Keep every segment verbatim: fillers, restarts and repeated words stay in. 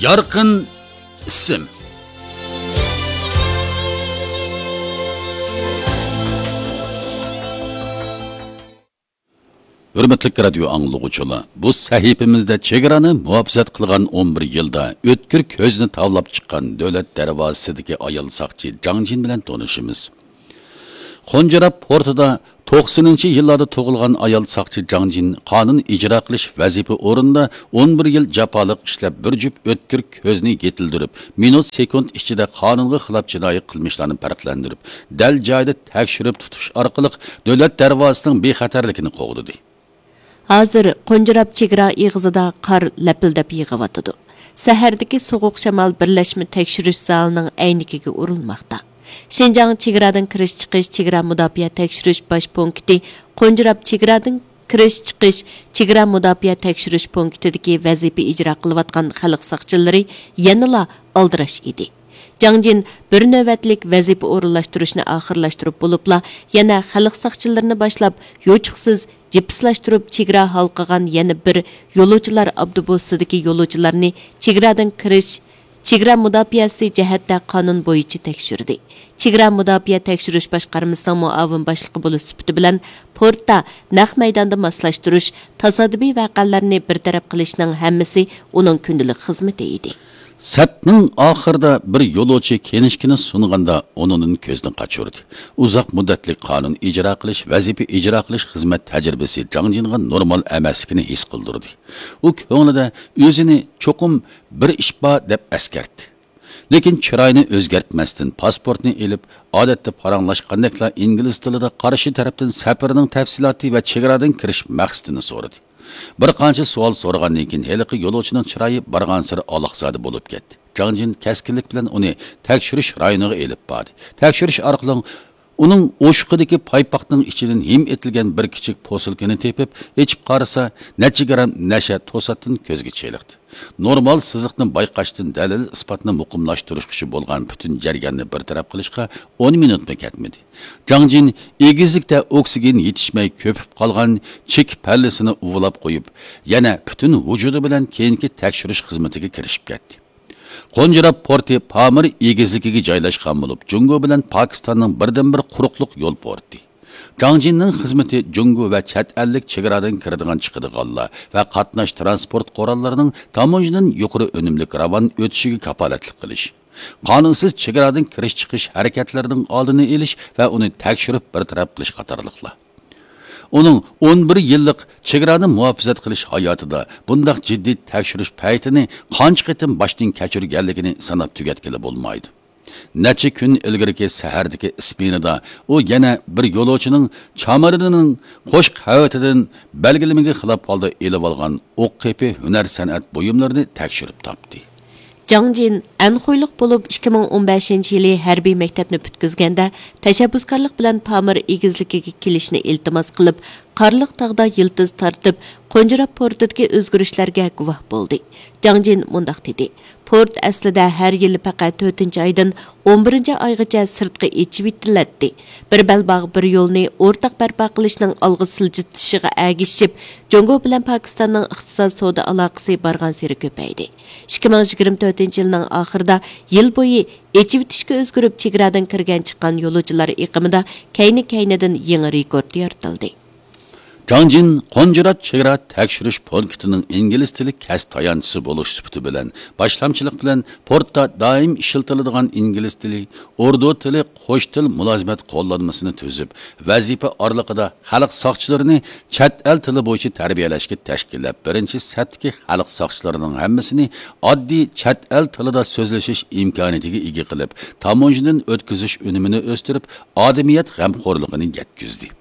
يارقىن ئىسىم. ھۆرمەتلىك رادىيو ئاڭلىغۇچىلار، بۇ سەھىپىمىزدە چېگرانى مۇھاپىزەت قىلغان ئون بىر يىلدا ئۆتكۈر كۆزنى تاۋلاپ چىققان دۆلەت دەرۋازىسىدىكى ئايال ساقچى جاڭ جىن بىلەن تونۇشىمىز. خونجراپ پورتىدا توقسىنىنچى يىللاردا تۇغۇلغان ئايال ساقچى جاڭ جىن قانۇن ئىجرا قىلىش ۋەزىپە ئورنىدا ئون بىر يىل جاپالىق ئىشلەپ، بىر جۈپ ئۆتكۈر كۆزنى يېتىلدۈرۈپ، مىنۇت سېكۇنت ئىچىدە قانۇنغا خىلاپ جىنايى قىلمىشلارنى پەرقلەندۈرۈپ، دەل جايىدا تەكشۈرۈپ تۇتۇش ئارقىلىق دۆلەت دەرۋازىسىنىڭ بىخەتەرلىكىنى قوغدىدى. ھازىر قونجراپ چېگرا ئېغىزىدا قار لەپىلدەپ يېغىۋاتىدۇ. سەھەردىكى سوغۇق شامال بىرلەشمە تەكشۈرۈش زالىنىڭ ئەينىكىگە ئۇرۇلماقتا. شىنجاڭ چېگرادىن كىرىش چىقىش چېگرا مۇداپىئە تەكشۈرۈش باش پونكىتى قونجراپ چېگرادىن كىرىش چىقىش چېگرا مۇداپىئە تەكشۈرۈش پونكىتىدىكى ۋەزىپە ئىجرا قىلىۋاتقان خەلق ساقچىلىرى يەنىلا ئالدىراش ئىدى. جاڭ جىن بىر نۆۋەتلىك ۋەزىپە ئورۇنلاشتۇرۇشنى ئاخىرلاشتۇرۇپ بولۇپلا، يەنە خەلق ساقچىلىرىنى باشلاپ، يوچۇقسىز جىپسلاشتۇرۇپ چېگرا ھالقىغان يەنە بىر يولۇچىلار ئاپتوبۇسىدىكى يولۇچىلارنى چېگرادىن كىرىش، چېگرا مۇداپىئەسى جەھەتتە قانۇن بويىچە تەكشۈردى. چېگرا مۇداپىئە تەكشۈرۈش باشقارمىسىنىڭ مۇئاۋىن باشلىقى بولۇش سۈپىتى بىلەن، پورتتا نەق مەيداندا ماسلاشتۇرۇش، تاسادىپىي ۋەقەلەرنى بىر تەرەپ قىلىشنىڭ ھەممىسى ئۇنىڭ كۈندىلىك خىزمىتى ئىدى. سەپنىڭ ئاخىرىدا بىر يولۇچى كىنىشكىنى سۇنغاندا، ئۇنىڭدىن كۆزىنى قاچۇردى. ئۇزاق مۇددەتلىك قانۇن ئىجرا قىلىش، ۋەزىپە ئىجرا قىلىش خىزمەت تەجرىبىسى جاڭ جىنغا نورمال ئەمەسلىكىنى ھېس قىلدۇردى. ئۇ كۆڭلىدە ئۆزىنى چوقۇم بىر ئىش بار دەپ ئەسكەرتتى. لېكىن چىرايىنى ئۆزگەرتمەستىن، پاسپورتنى ئېلىپ، ئادەتتە پاراڭلاشقاندەكلا ئىنگلىز تىلىدا قارشى تەرەپتىن سەپىرىنىڭ تەپسىلاتى ۋە چېگرادىن كىرىش مەقسىتىنى سورىدى. بىر قانچە سوئال سورىغاندىن كېيىن، ھېلىقى يولۇچىنىڭ چىرايى بارغانسېرى ئالاقزادە بولۇپ كەتتى. جاڭ جىن كەسكىنلىك بىلەن ئۇنى تەكشۈرۈش رايونىغا ئېلىپ باردى. تەكشۈرۈش ئارقىلىق ئۇنىڭ ئوشۇقىدىكى پايپاقنىڭ ئىچىدىن ھىم ئېتىلگەن بىر كىچىك پوسۇلكىنى تېپىپ، ئېچىپ قارىسا، نەچچە گرام نەشە توساتتىن كۆزگە چېلىقتى. نورمال سىزىقنى بايقاشتىن دەلىل-ئىسپاتنى مۇقىملاشتۇرۇشقىچە بولغان پۈتۈن جەرياننى بىر تەرەپ قىلىشقا ئون مىنۇتمۇ كەتمىدى. جاڭ جىن ئېگىزلىكتە ئوكسىگېن يېتىشمەي كۆپۈپ قالغان چېكە پەللىسىنى ئۇۋىلاپ قويۇپ، يەنە پۈتۈن ۋۇجۇدى بىلەن كېيىنكى تەكشۈرۈش خىزمىتىگە كىرىشىپ كەتتى. قونجراپ پورتى پامىر ئېگىزلىكىگە جايلاشقان بولۇپ، جۇڭگو بىلەن پاكىستاننىڭ بىردىنبىر قۇرۇقلۇق يول پورتى. جاڭ جىننىڭ خىزمىتى جۇڭگو ۋە چەت ئەللىك چېگرادىن كىرىدىغان چىقىدىغانلار ۋە قاتناش تىرانسپورت قوراللىرىنىڭ تاموژنىدىن يۇقىرى ئۈنۈملۈك راۋان ئۆتۈشىگە كاپالەتلىك قىلىش، قانۇنسىز چېگرادىن كىرىش چىقىش ھەرىكەتلىرىنىڭ ئالدىنى ئېلىش ۋە ئۇنى تەكشۈرۈپ بىر تەرەپ قىلىش قاتارلىقلار. ئۇنىڭ ئون بىر يىللىق چېگرانى مۇھاپىزەت قىلىش ھاياتىدا بۇنداق جىددىي تەكشۈرۈش پەيتىنى قانچە قېتىم باشتىن كەچۈرگەنلىكىنى ساناپ تۈگەتكىلى بولمايدۇ. نەچچە كۈن ئىلگىرىكى سەھەردىكى ئىسمېنىدا ئۇ يەنە بىر يولۇچىنىڭ چامىرىنىنىڭ قوشۇق ھاۋىتىدىن بەلگىلىمىگە خىلاپ ھالدا ئېلىۋالغان ئوق قېپى ھۈنەر سەنئەت بۇيۇملىرىنى تەكشۈرۈپ تاپتى. جاڭ جىن ئەنخۇيلۇق بولۇپ، ئىككى مىڭ ئون بەشىنچى يىلى ھەربىي مەكتەپنى پۈتكۈزگەندە، تەشەببۇسكارلىق بىلەن پامىر ئېگىزلىكىگە كېلىشنى ئىلتىماس قىلىپ، قارلىق تاغدا يىلتىز تارتىپ، قونجراپ پورتىدىكى ئۆزگىرىشلەرگە گۇۋاھ بولدى. جاڭ جىن مۇنداق دېدى: پورت ئەسلىدە ھەر يىلى پەقەت تۆتىنچى ئايدىن ئون بىرىنچى ئايغىچە سىرتقا ئېچىۋېتىلەتتى. بىر بەلباغ، بىر يولنى ئورتاق بەرپا قىلىشنىڭ ئالغا سىلجىتىشىغا ئەگىشىپ، جۇڭگو بىلەن پاكىستاننىڭ ئىقتىساد سودا ئالاقىسى بارغانسېرى كۆپەيدى. ئىككى مىڭ يىگىرمە تۆتىنچى يىلنىڭ ئاخىرىدا يىل بويى ئېچىۋېتىشكە ئۆزگىرىپ، چېگرادىن كىرگەن چىققان يولۇچىلار ئېقىمىدا كەينى-كەينىدىن يېڭى رېكورت يارىتىلدى. جاڭ جىن قونجرات چېگرا تەكشۈرۈش پونكىتىنىڭ ئىنگلىز تىلى كەسىپ تايانچىسى بولۇش سۈپىتى بىلەن باشلامچىلىق بىلەن پورتتا دائىم ئىشلىتىلىدىغان ئىنگلىز تىلى، ئوردۇ تىلى، قوش تىل مۇلازىمەت قوللانمىسىنى تۈزۈپ، ۋەزىپە ئارىلىقىدا خەلق ساقچىلىرىنى چەت ئەل تىلى بويىچە تەربىيەلەشكە تەشكىللەپ، بىرىنچى سەپتىكى خەلق ساقچىلىرىنىڭ ھەممىسىنى ئاددىي چەت ئەل تىلىدا سۆزلىشىش ئىمكانىيىتىگە ئىگە قىلىپ، تاموژنىدىن ئۆتكۈزۈش ئۈنۈمىنى ئۆستۈرۈپ، ئادىمىيەت غەمخورلۇقىنى يەتكۈزدى.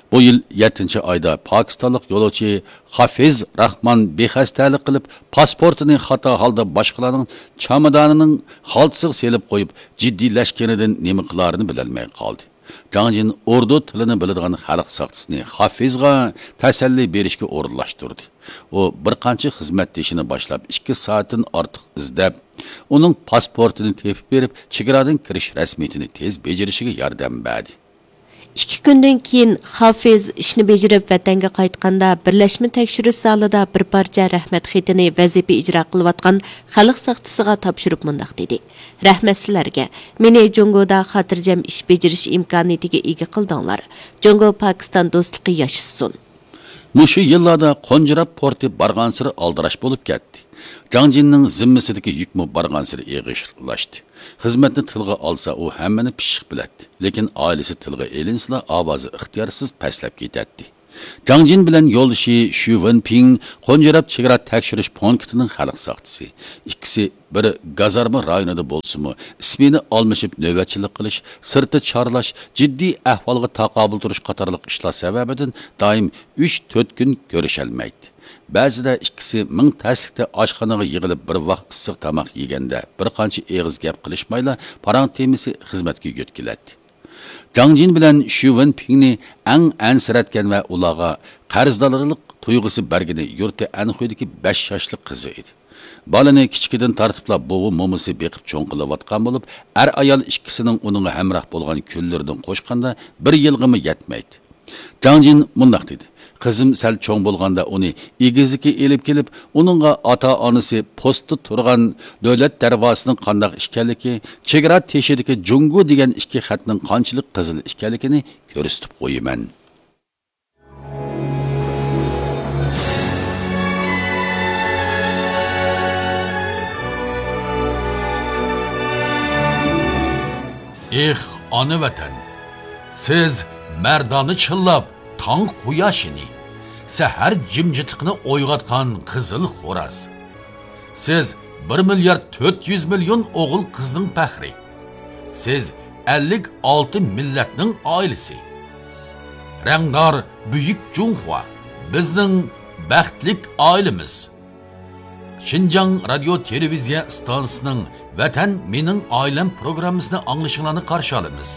بۇ يىل يەتتىنچى ئايدا پاكىستانلىق يولۇچى خافىز راخمان بىخەستەلىك قىلىپ، پاسپورتىنى خاتا ھالدا باشقىلارنىڭ چامادانىنىڭ خالتىسىغا سېلىپ قويۇپ، جىددىيلەشكىنىدىن نېمە قىلارىنى بىلەلمەي قالدى. جاڭ جىن ئوردۇ تىلىنى بىلىدىغان خەلق ساقچىسىنى خافىزغا تەسەللى بېرىشكە ئورۇنلاشتۇردى. ئۇ بىر قانچە خىزمەتدىشىنى باشلاپ، ئىككى سائەتتىن ئارتۇق ئىزدەپ، ئۇنىڭ پاسپورتىنى تېپىپ بېرىپ، چېگرادىن كىرىش رەسمىيىتىنى تېز بېجىرىشىگە ياردەم بەردى. ئىككى كۈندىن كېيىن خافىز ئىشنى بېجىرىپ ۋەتەنگە قايتقاندا، بىرلەشمە تەكشۈرۈش زالىدا بىر پارچە رەھمەت خېتىنى ۋەزىپە ئىجرا قىلىۋاتقان خەلق ساقچىسىغا تاپشۇرۇپ مۇنداق دېدى: «رەھمەت سىلەرگە. مېنى جۇڭگودا خاتىرجەم ئىش بېجىرىش ئىمكانىيىتىگە ئىگە قىلدىڭلار. جۇڭگو پاكىستان دوستلۇقى ياشىسۇن!» مۇشۇ يىللاردا قونجىراپ پورتى بارغانسېرى ئالدىراش بولۇپ كەتتى. جاڭ جىننىڭ زىممىسىدىكى يۈكمۇ بارغانسېرى ئېغىرلاشتى. خىزمەتنى تىلغا ئالسا، ئۇ ھەممىنى پىششىق بىلەتتى. لېكىن ئائىلىسى تىلغا ئېلىنسىلا، ئاۋازى ئىختىيارسىز پەسلەپ كېتەتتى. جاڭ جىن بىلەن يولدىشى شۈ ۋېنپىڭ قونجىراپ چېگرا تەكشۈرۈش پونكىتىنىڭ خەلق ساقچىسى. ئىككىسى بىر گازارما رايونىدا بولسىمۇ، ئىسمېنا ئالمىشىپ نۆۋەتچىلىك قىلىش، سىرتتا چارلاش، جىددىي ئەھۋالغا تاقابىل تۇرۇش قاتارلىق ئىشلار سەۋەبىدىن دائىم ئۈچ تۆت كۈن كۆرۈشەلمەيتتى. بەزىدە ئىككىسى مىڭ تەسلىكتە ئاشخانىغا يىغىلىپ، بىر ۋاق ئىسسىق تاماق يېگەندە، بىر قانچە ئېغىز گەپ قىلىشمايلا، پاراڭ تېمىسى خىزمەتكە يۆتكىلەتتى. جاڭ جىن بىلەن شۈ ۋېنپىڭنى ئەڭ ئەنسىرەتكەن ۋە ئۇلارغا قەرزدارلىق تۇيغۇسى بەرگىنى يۇرتى ئەنخۇيدىكى بەش ياشلىق قىزى ئىدى. بالىنى كىچىكىدىن تارتىپلا بوۋا مومىسى بېقىپ چوڭ قىلىۋاتقان بولۇپ، ئەر-ئايال ئىككىسىنىڭ ئۇنىڭغا ھەمراھ بولغان كۈنلىرىدىن قوشقاندا بىر يىلغىمۇ يەتمەيتتى. جاڭ جىن مۇنداق دېدى: «قىزىم سەل چوڭ بولغاندا ئۇنى ئېگىزلىككە ئېلىپ كېلىپ، ئۇنىڭغا ئاتا-ئانىسى پوستتا تۇرغان دۆلەت دەرۋازىسىنىڭ قانداق ئىكەنلىكى، چېگرا تېشىدىكى جۇڭگو دېگەن ئىككى خەتنىڭ قانچىلىك قىزىل ئىكەنلىكىنى كۆرسىتىپ قويىمەن.» ئېھ، ئانا ۋەتەن! سىز مەردانە چىللاپ تاڭ قۇياشىنى، سەھەر جىمجىتلىقىنى ئويغاتقان قىزىل خوراز. سىز بىر مىليارد تۆت يۈز مىليون ئوغۇل-قىزنىڭ پەخرى. سىز ئەللىك ئالتە مىللەتنىڭ ئائىلىسى. رەڭدار بۈيۈك جۇڭخۇا، بىزنىڭ بەختلىك ئائىلىمىز. شىنجاڭ رادىيو تېلېۋىزىيە ئىستانسىسىنىڭ ۋەتەن مېنىڭ ئائىلەم پروگراممىسىنى ئاڭلىشىڭلارنى قارشى ئالىمىز.